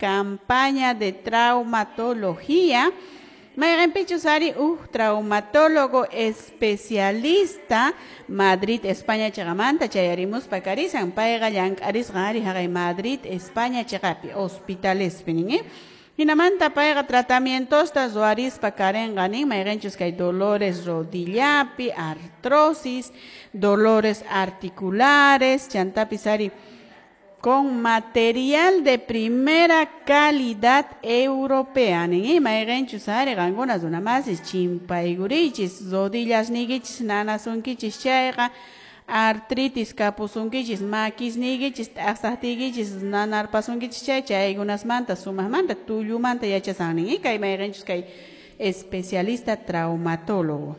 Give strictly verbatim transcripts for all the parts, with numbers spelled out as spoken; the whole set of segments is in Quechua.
Campaña de traumatología. Mayqinpichus ari huk traumatólogo especialista Madrid, España chiqamanta chayarimuspa karisan payqa llank'arisqa ari haqay Madrid, España chiqapi hospitalespi nin, eh? Hinamanta payqa tratamientosta ruwarispa karinqa nin mayqinchus kay dolores rodillapi, artrosis, dolores articulares, chantapis ari con material de primera calidad europea nin, mayqinchus ari qankuna runamasis chimpaykurichis rodillas niykichis nanasunkichis chayqa artritis kapusunkichis makisniykichis t'aqsaqtiykichis nanarpasunkichis chay chaykunasmanta sumaqmanta tullumanta yachasan nin, kay mayqinchus kay especialista traumatólogo.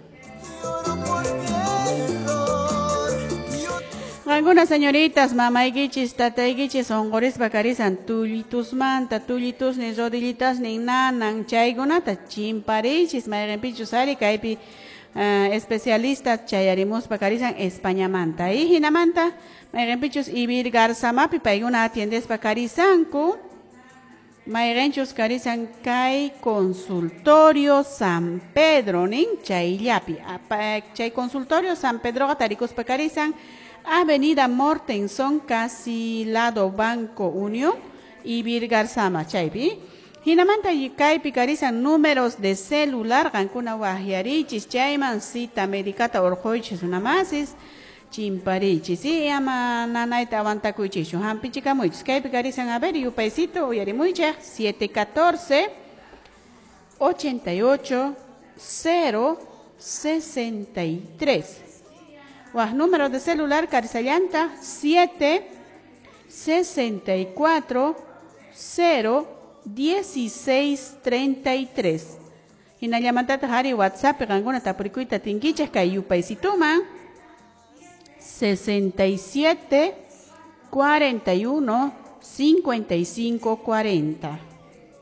Algunas señoritas, mamaykichis, tataykichis, unqurispa karisan tullitusmanta, tullitusnin, rodillitasnin nanan, chaykunata chimparichis, mayqinpichus ari kaypi uh, especialista chayarimuspa karisan Españamanta. Y hinamanta, mayqinpichus Ibir Garzamapi paykuna atiendespa karisanku, mayqinchus karisan kay consultorio San Pedro nin chayllapi. Chay consultorio San Pedroqa tarikuspa karisan Avenida Mortenson, casi lado Banco Unión, Ibir Garzama, chaypi. Hinamanta kaypi karisan números de celular, qankuna waqyarichis, chayman cita medicata urquychis runamasis, chimparichis, y ama nanayta aguantakuychischu, hampichikamuychis. Kaypi karisan, a ver, yupaysito, uyarimuychaq, siete catorce, ochenta y ocho, cero, sesenta y tres. Waj número de celular karisallanta siete sesenta y cuatro cero dieciséis treinta y tres. Hinallamantata hari WhatsApp qankuna tapurikuyta tinkichaq kay yupaysituman sesenta y siete cuarenta y uno cincuenta y cinco cuarenta.